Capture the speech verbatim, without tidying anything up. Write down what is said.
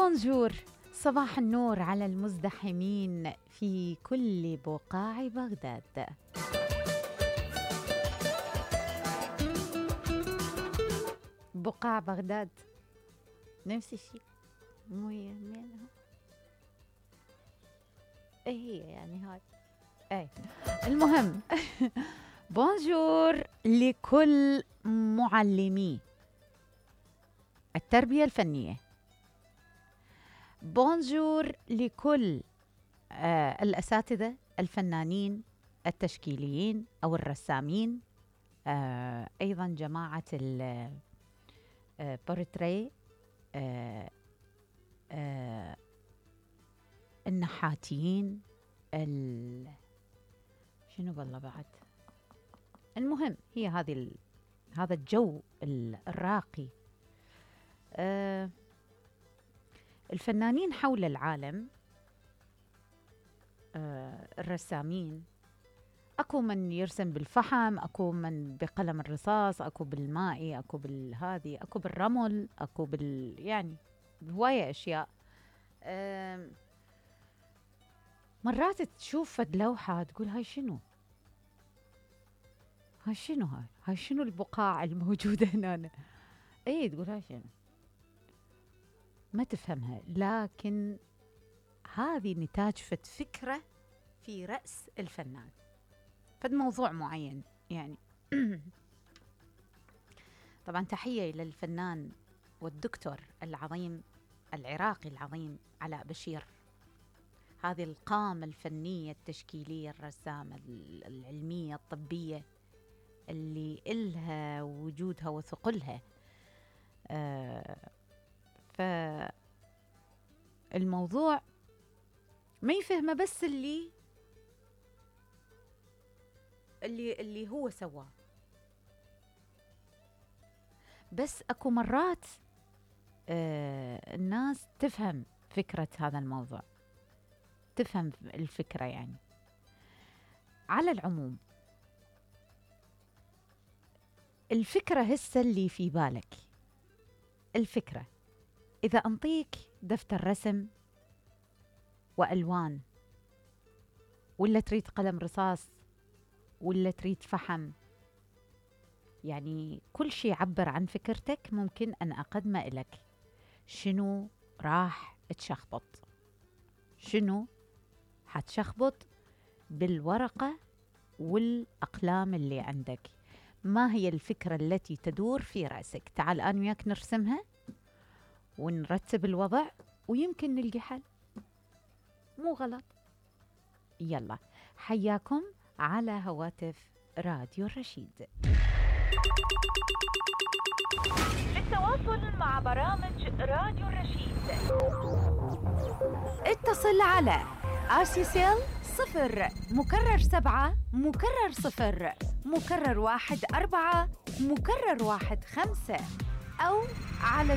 بونجور، صباح النور على المزدحمين في كل بقاع بغداد. بقاع بغداد نفس الشيء، مو هي منها؟ ايه هي يعني هاي ايه المهم. بونجور لكل معلمي التربية الفنية، بونجور لكل آه الأساتذة الفنانين التشكيليين أو الرسامين، آه أيضا جماعة البورتري، آه آه النحاتين، شنو بالله بعد. المهم هي هذه ال... هذا الجو الراقي. آه الفنانين حول العالم، آه الرسامين، اكو من يرسم بالفحم، اكو من بقلم الرصاص، اكو بالمائي، اكو بالهادي، اكو بالرمل، اكو بال يعني هواية اشياء. آه مرات تشوف فد لوحة تقول هاي شنو؟ هاي شنو هاي؟ هاي شنو البقاع الموجودة هنا؟ ايه تقول هاي شنو؟ ما تفهمها، لكن هذه نتاج فد فكرة في رأس الفنان، فد موضوع معين يعني. طبعا تحية للفنان والدكتور العظيم العراقي العظيم علاء بشير، هذه القامة الفنية التشكيلية الرسامة العلمية الطبية اللي إلها وجودها وثقلها. آه فالموضوع ما يفهمه بس اللي اللي اللي هو سواه، بس اكو مرات آه الناس تفهم فكرة هذا الموضوع، تفهم الفكرة يعني. على العموم الفكرة هسه اللي في بالك، الفكرة إذا أنطيك دفتر رسم وألوان، ولا تريد قلم رصاص، ولا تريد فحم، يعني كل شيء يعبر عن فكرتك ممكن أن أقدمه إلك. شنو راح تشخبط؟ شنو حتشخبط بالورقة والأقلام اللي عندك؟ ما هي الفكرة التي تدور في رأسك؟ تعال أنا وياك نرسمها ونرتب الوضع ويمكن نلقي حل، مو غلط. يلا حياكم على هواتف راديو الرشيد. للتواصل مع برامج راديو الرشيد اتصل على آسيسيل صفر مكرر سبعة مكرر صفر مكرر واحد أربعة مكرر واحد خمسة، أو على